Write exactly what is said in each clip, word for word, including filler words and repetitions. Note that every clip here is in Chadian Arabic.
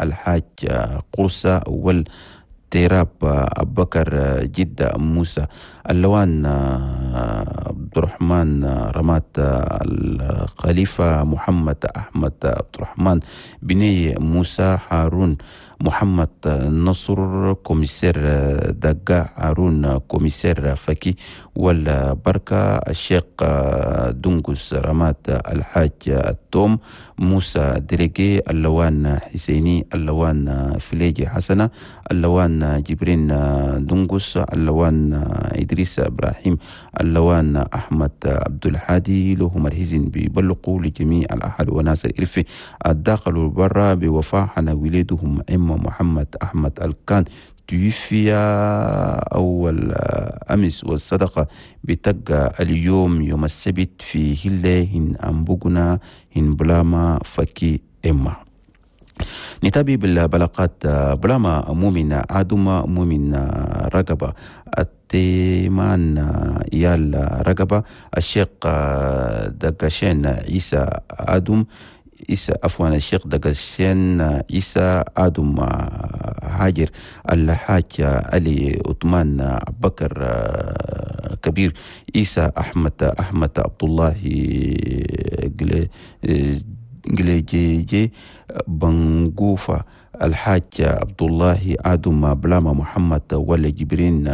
الحاج قرصة والتيراب أبكر جدة موسى اللوان عبد الرحمن رمات الخليفة محمد أحمد عبد الرحمن بني موسى هارون محمد نصر commissaire دقا هارون commissaire فكي والبركة الشيخ دنقس رمات الحاج التوم موسى délégué اللوان حسيني اللوان فليجي حسنة اللوان جبرين دنقس اللوان إدريس إبراهيم اللوان أحمد عبد الحادي لهم الهزن بيبلقوا لجميع الأهل وناس الإرفي الداخل والبرا بوفاة حنا وليدهم إما محمد أحمد الكان توفي أول أمس، والصدقة بتقى اليوم يوم السبت في هلة هن أمبوغنا هن بلاما فكي إما. نتابع بالبلاغات بلاما مؤمن عدوما مؤمن رقبة التيمان يال رقبة الشيخ دقشين عيسى آدم عيسى عفوا الشيخ دقشين عيسى آدم هاجر الحاج علي عثمان بكر كبير عيسى أحمد أحمد عبد الله جليجي بنغوفا الحاج عبد الله آدم بلاما محمد ولا جبرين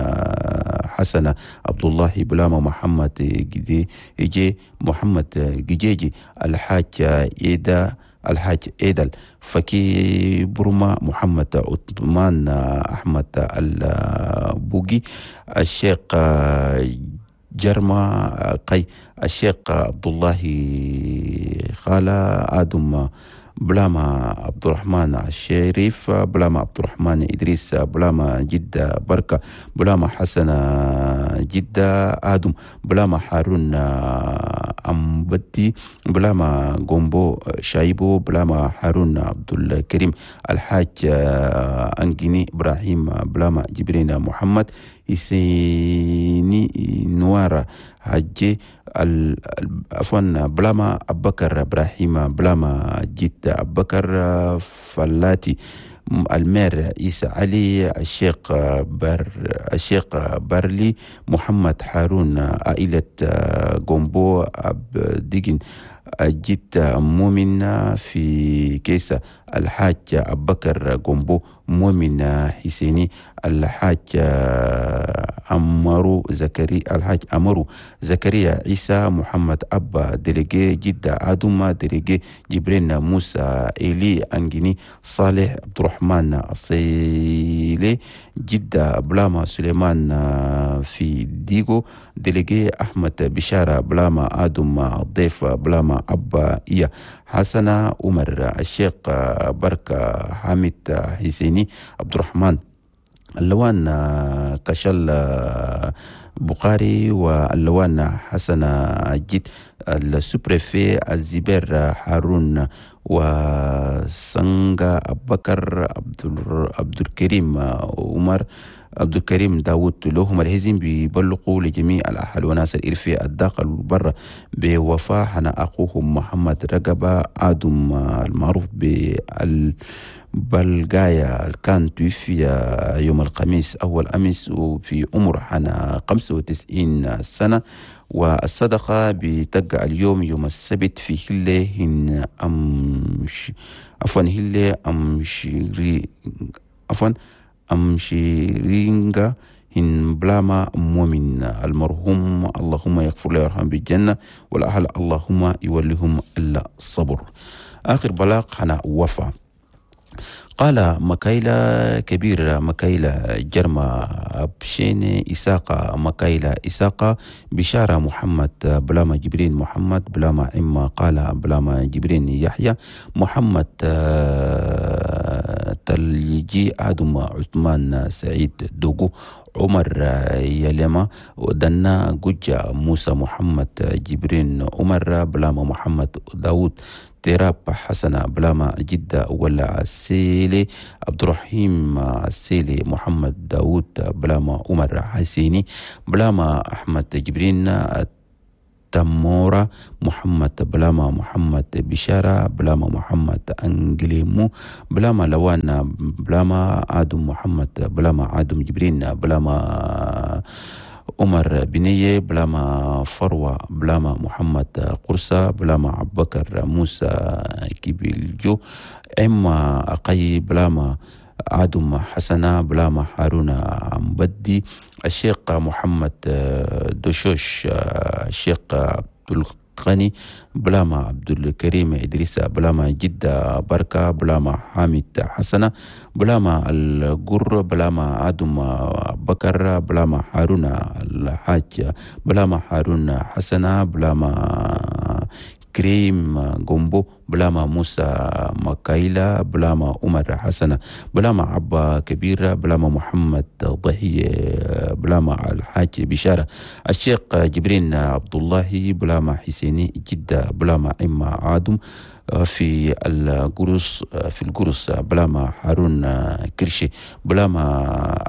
حسن عبد الله بلاما محمد جي محمد جيجي الحاج إيدا الحاج إيدل فكي برما محمد عثمان أحمد البوغي الشيخ جرما قي الشيخ عبد الله خالة آدم بلاما عبد الرحمن الشريف بلاما عبد الرحمن إدريس بلاما جدة بركة بلاما حسن جدة آدم بلاما هارون أمبدي بلاما غومبو شايبو بلاما هارون عبد الكريم الحاج أنجيني إبراهيم بلاما جبرين محمد إسيني نوارا حجي عفوا بلاما أبكر إبراهيم بلاما جد أبكر فلاتي المير عيسى علي الشيخ بر الشيخ برلي محمد هارون عائلة غومبو أبديجن جد مؤمن في كيسة الحاج أبكر غومبو مؤمن حسيني الحاج أمرو زكريا الحاج أمرو زكريا عيسى محمد أبا délégué جدة آدم délégué جبرين موسى إلي أنجيني صالح عبد الرحمن الصيلي جدة بلاما سليمان في ديغو délégué أحمد بشارة بلاما آدم الضيف بلاما أبا إيا حسن عمر الشيخ بركة حامد حسيني عبد الرحمن اللوان كشل بخاري واللوان حسن جد ال sous-préfet الزبير هارون وسنغا أبكر عبد الكريم عمر عبد الكريم داود لهم الهزم بيبلغوا لجميع الأهل وناس الإرفي الداخل والبر بوفاة حنا أخوهم محمد رقبة آدم المعروف بال بلغايا كان توفي يوم الخميس أول أمس وفي عمر حنا خمسة وتسعين سنة، والصدقة بتقع اليوم يوم السبت في هلة هن أمش عفوا هلة أمشري عفوا أمشيرينغا هن بلاما مؤمن المرحوم اللهم يغفر له ويرحمه بالجنة والأهل اللهم يوليهم الصبر. آخر بلاغ حنا وفا قال مكايلا كبير مكايلا جرما أبشين إساقة مكايلا إساقة بشارة محمد بلاما جبرين محمد بلاما إما قال بلاما جبرين يحيى محمد تلجي آدم عثمان سعيد دوغو عمر يلما ودنا جوجا موسى محمد جبرين عمر بلاما محمد داود تيراب حسن بلاما جدة ولا السيلي عبد الرحيم السيلي محمد داود بلاما عمر حسيني بلاما أحمد جبرين تمورا محمد بلاما محمد بشارة بلاما محمد أنجليمو بلاما لوان بلاما آدم محمد بلاما آدم جبرين بلاما عمر بنية بلاما فروة بلاما محمد قرصة بلاما عبكر موسى كيبيلجو إما أقي بلاما عدم حسنة بلاما هارون مبدي الشيخ محمد دوشوش الشيخ عبد الغني بلاما عبد الكريم إدريس بلاما جدة بركة بلاما حامد حسنة بلاما القر بلاما عدم بكر بلاما هارون الحاج بلاما هارون حسنة بلاما كريم جومبو بلاما موسى مكايلا بلاما عمر حسنة بلاما عبا كبيرة بلاما محمد ضحية بلاما الحاج بشارة الشيخ جبرين عبد الله بلاما حسيني جدة بلاما إما عادم في القرص في القرص بلاما هارون كرشي بلاما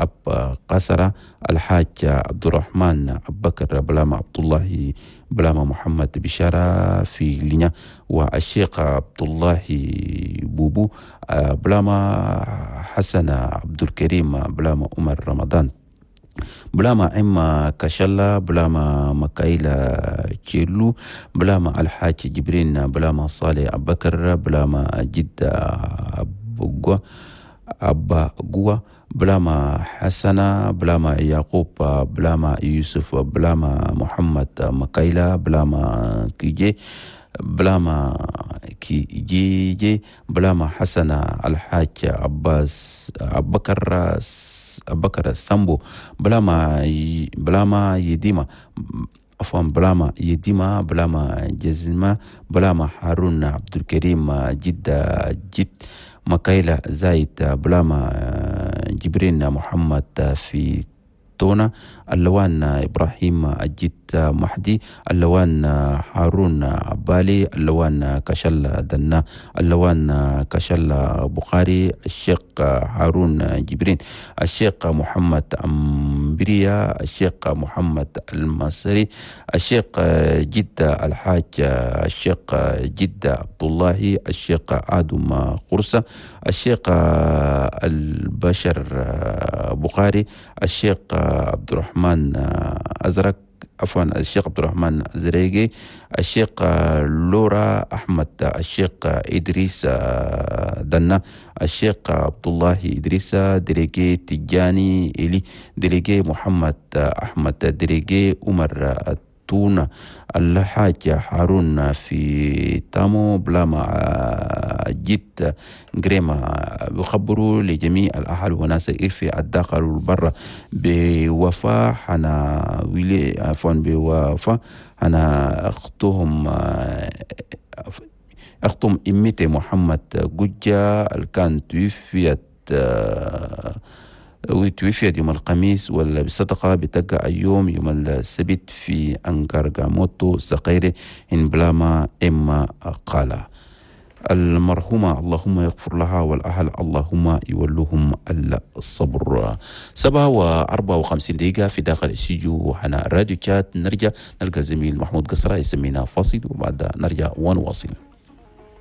أب قصرة الحاج عبد الرحمن أبو بكر بلاما عبد الله بلاما محمد بشارة في لينا والشيخ عبد الله بوبو بلاما حسن عبد الكريم بلاما عمر رمضان بلاما إما كشلا بلاما مكايلا تشيلو بلاما الحاج جبرين بلاما صالح أبو بكر بلاما جدة أبو أبا قوة بلاما حسنة بلاما يعقوب بلاما يوسف بلاما محمد مكايلا بلاما كيجي بلاما كي جي جي بلاما حسنة الحاج عباس أبو بكر بكر سامبو بلاما بلاما يديما عفوا بلاما يديما بلاما جزمة بلاما هارون عبد الكريم جدة جد مكايلة زايد بلاما جبرين محمد في تونا اللوان إبراهيم أجيت محدي اللوان هارون عبالي اللوان كشل دنا اللوان كشل بخاري الشيخ هارون جبرين الشيخ محمد أمبريا الشيخ محمد المصري الشيخ جدة الحاج الشيخ جدة عبد الله الشيخ آدم قرصة الشيخ البشر بخاري الشيخ عبد الرحمن أزرق عفوا الشيخ عبد الرحمن زريقي الشيخ لورا أحمد الشيخ إدريس دنا الشيخ عبد الله إدريس دريقي تجاني إلي دريقي محمد أحمد دريقي عمر تونا الحاج هارون في تامو بلاما جيت جريما بخبروا لجميع الأهل وناس في الداخل والبر بوفاة حنا ويلي عفوا بوفاة حنا أختهم أختهم إمتي محمد جوجا الكان توفيت وتوفيت يوم الخميس ولا بالصدقة بتقع يوم يوم السبت في أنكارغاموتو سقيري إن بلاما إما قال المرحومة اللهم يغفر لها والأهل اللهم يولوهم الصبر. سبعة وأربعة وخمسين دقيقة في داخل الاستوديو وحنا راديو شات. نرجع نلقى زميل محمود قصرة يسمينا فاصل وبعد نرجع ونواصل.